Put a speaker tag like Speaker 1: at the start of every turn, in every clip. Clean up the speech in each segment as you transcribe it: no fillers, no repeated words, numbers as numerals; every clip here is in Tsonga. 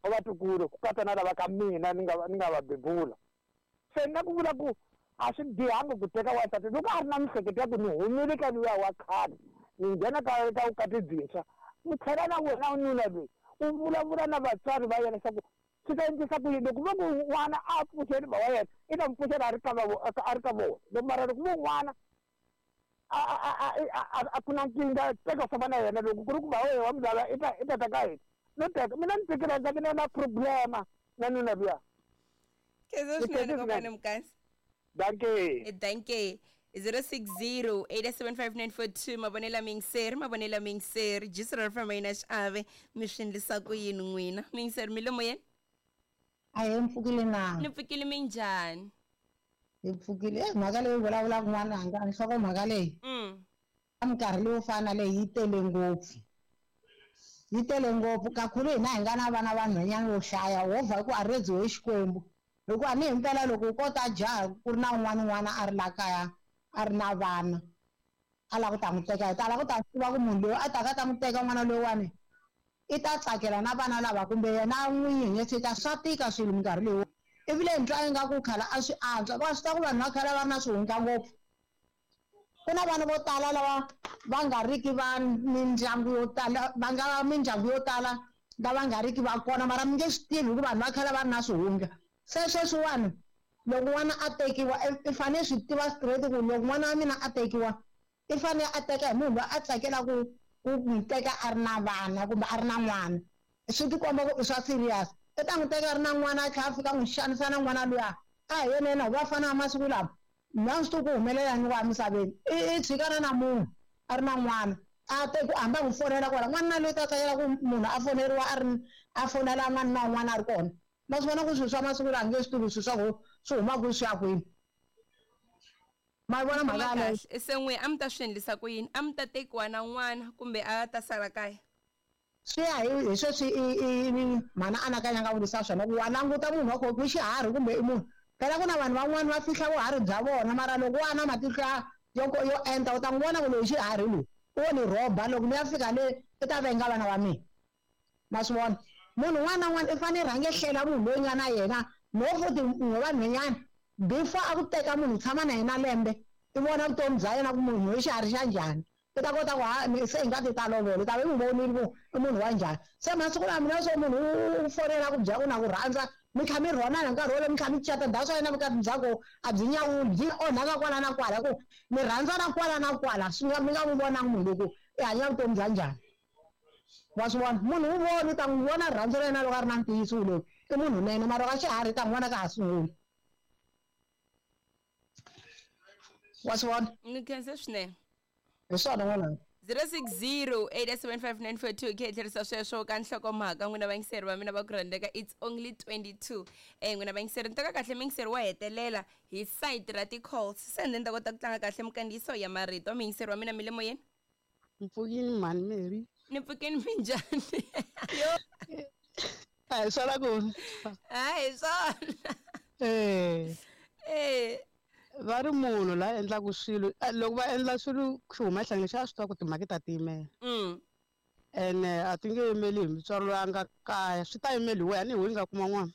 Speaker 1: Wa vatukulu ku katsa na lava ka mina ni nga ni nga va bebula. Se ni na ku vula ku a swi bihanga ku teka wansati loko a ri na mihleketo ya ku ni humile ka luya wa khale ni nghena ka ka vukati byintshwa. U tlhela na wena nuna loyi u vulavula na vatswari va yena leswaku swi ta endlisa ku yini loko vo ku n'wana a pfuxeli ba wa yena i ta n'wi pfuxela a ri ka a ri ka vona loko mara loko vo n'wana a a a a a ku na nkingha teka famba na yena loko ku ri ku ba wa mi lava i ta i ta ta ka hina no teka mina ni tekela ndza mina na problema na nuna luya.
Speaker 2: Khensa swinene kokwani Mkansi.
Speaker 1: Dankie.
Speaker 2: Dankie. 060 875 mavonelo miyingiseri mavonelo miyingiseri jisi ra famba yina xiave mi swi endlisa ku yini n'wina miyingiseri mi le moyeni?
Speaker 3: A hi mpfukile na.
Speaker 2: Ni pfukile, minjhani?
Speaker 3: Hi pfukile. E mhaka leyi vulavulaka n'wananga, nhloko mhaka leyi. Ka minkarhi leyo fana na leyi yi tele ngopfu. Yi tele ngopfu kakhulu hina hi nga na vana va nhwanyana vo hlaya wo vha ku a redziwe hi Xikwembu. Hikuva ni himpela loko ko ta jaha ku ri na un'wana n'wana a ri la kaya a ri na vana a lava ku ta n'wi teka hi ta lava ku ta swi tiva ku munhu loyi a taka a ta n'wi teka n'wana loyiwani i ta tsakela na vana lava kumbe yena n'winyi hi nge ta swa tika swilo minkarhi leyi ivile ni twa ingaku khale a swi antswa va swi tiva ku vanhu va khale va ri na swihundla ngopfu. Ku na vana vo tala lava va nga riki va mindyangu yo tala va nga mindyangu yo tala lava nga riki va kona mara mi nge swi tivi hikuva vanhu va khale va ri na swihundla. Se sweswiwani loko n'wana a tekiwa i fanele swi tiva straight ku loko n'wana wa mina a tekiwa i fanele a teka hi munhu loyi a tsakelaka ku n'wi teka a ri na vana kumbe a ri na n'wana. Swi tikomba ku i swa serious. I ta n'wi teka a ri na n'wana a tlhela a fika a n'wi xanisa na n'wana luya. A hi yena yena hi vafana va masiku lama. Mina a swi tivi ku humelela yini kwala misaveni. I i tshikana na munhu a ri na n'wana a te ku hambi a n'wi fonela kwala n'wanuna loyi ta tsakela ku munhu a foneriwa a ri a fonela n'wanuna un'wana a ri kona. Ma swi vona ku swilo swa masiku lawa a nge swi tivi swilo swa ku swi huma kwihi swi ya kwini. Ma yi vona mhaka yaleyo?
Speaker 2: Kahle. Se n'we a mi ta swi endlisa ku yini? A mi ta tekiwa na n'wana kumbe a ta sala kaya?
Speaker 3: Swi ya hi hi sweswi i i mhani a anakanya nga vurisa swona ku wa languta munhu wa kona ku i xiharhi kumbe i munhu. Phela ku na vanhu van'wani va fihla vuharhi bya vona mara loko wa na matihlo ya yo yo enta u ta n'wi vona ku loyi i xiharhi loyi u wo ni rhoba loko ni ya fika le i ta venga vana va mina. Ma swi vona? Munhu un'wana na un'wana i fanele rhange hlela munhu loyi nga na yena no futhi n'we vanhwanyana before a ku teka munhu u tshama na yena lembe i vona vutomi bya yena ku munhu i xiharhi xa njhani. I ta kota ku ha se hi nga ti ta lovola i ta va i n'wi vonile ku i munhu wa njhani. Se masiku lawa mina swo munhu u fonela ku byela ku na ku rhandza mi tlha mi rhonana hi nkarhi wolowo mi tlha mi cata that's why na vukati bya koho a byi nyawuli byi onhaka kwala na kwala hi ku mi rhandzana kwala na kwala swi nga mi nga n'wi vonangi munhu loyi ku i hanya vutomi bya njhani. Wa swi vona munhu wu vona u ta n'wi vona rirhandzu ra yena loko a ri na ntiyiso loyi i munhu nene mara loko a xiharhi i ta n'wi vona ka ha sungula. Wa swi vona?
Speaker 2: Ni khense swinene.
Speaker 3: Hi swona n'wananga.
Speaker 2: 060-875-942 khe hi tlherisa sweswo ka nhlokomhaka n'wina vayingiseri va mina va ku rhandzeka it's only 22 n'wina vayingiseri ni teka kahle muyingiseri wa hetelela hi site ra ti-calls se ni ta kota ku tlanga kahle minkandziyiso ya marito muyingiseri wa mina mi le moyeni.
Speaker 4: Mpfukini mhani Mary.
Speaker 2: Ni pfukini minjhani?
Speaker 4: Yo. A hi swona ku.
Speaker 2: A hi swona.
Speaker 4: Eh.
Speaker 2: Eh.
Speaker 4: Va ri munhu la endlaka swilo loko va endla swilo swi huma ehlangeni xa swi tiva ku timhaka ta tiyimela. Ene a ti nge yimeli hi mutswari loyi a nga kaya swi ta yimeli hi wena ni hi wena nga kuma n'wana.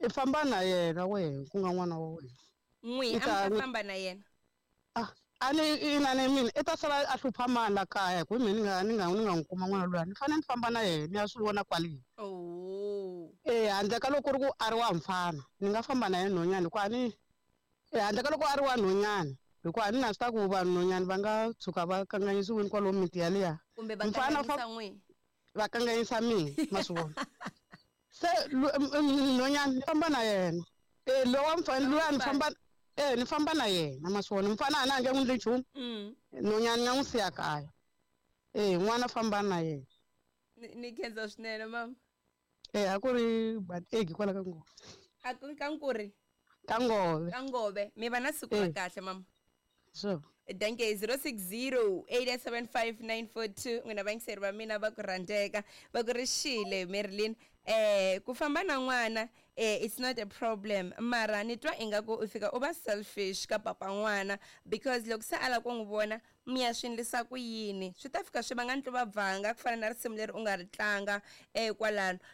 Speaker 4: I famba na yena wehe ku nga n'wana wa wena.
Speaker 2: N'wi a mi ta famba na yena.
Speaker 4: Ah, a ni ina ni mina i ta sala a hlupha mani la kaya hi ku mina ni nga ni nga ni nga n'wi kuma n'wana luya ni fanele ni famba na yena ni ya swi vona kwale.
Speaker 2: Oh.
Speaker 4: Eh handle ka loko ku ri ku a ri wa mfana ni nga famba na yena nhwanyana hikuva a ni eh handle ka loko a ri wa nhwanyana hikuva a ni na swi ta ku vanhwanyana va nga tshuka va kanganyisiwile kwalomu miti yaliya.
Speaker 2: Kumbe va kanganyisa n'wina.
Speaker 4: Va kanganyisa mina ma swi vona. Se nhwanyana ni famba na yena. Eh lowa mfana luya ni famba eh ni famba na yena ma swi vona mfana a na nge n'wi ndli nchumu. Nhwanyana ni nga n'wi siya kaya. Eh n'wana famba na yena.
Speaker 2: Ni khensa swinene mama.
Speaker 4: Eh a ku ri Bategi kwala ka Ngove.
Speaker 2: A ku ka Nkuri?
Speaker 4: Ka Ngove.
Speaker 2: Ka Ngove. Mi va na siku ra kahle mama.
Speaker 4: Sure.
Speaker 2: Danke 060-875-942 n'wina vayingiseri va mina va ku rhandzeka va ku ri xile Marilyn ku famba na n'wana it's not a problem mara ni twa ingaku u fika u va selfish ka papa n'wana because loko se a lava ku n'wi vona mi ya swi endlisa ku yini swi ta fika swi vanga ntluvabvanga ku fana na risimu leri u nga ri tlanga kwalano.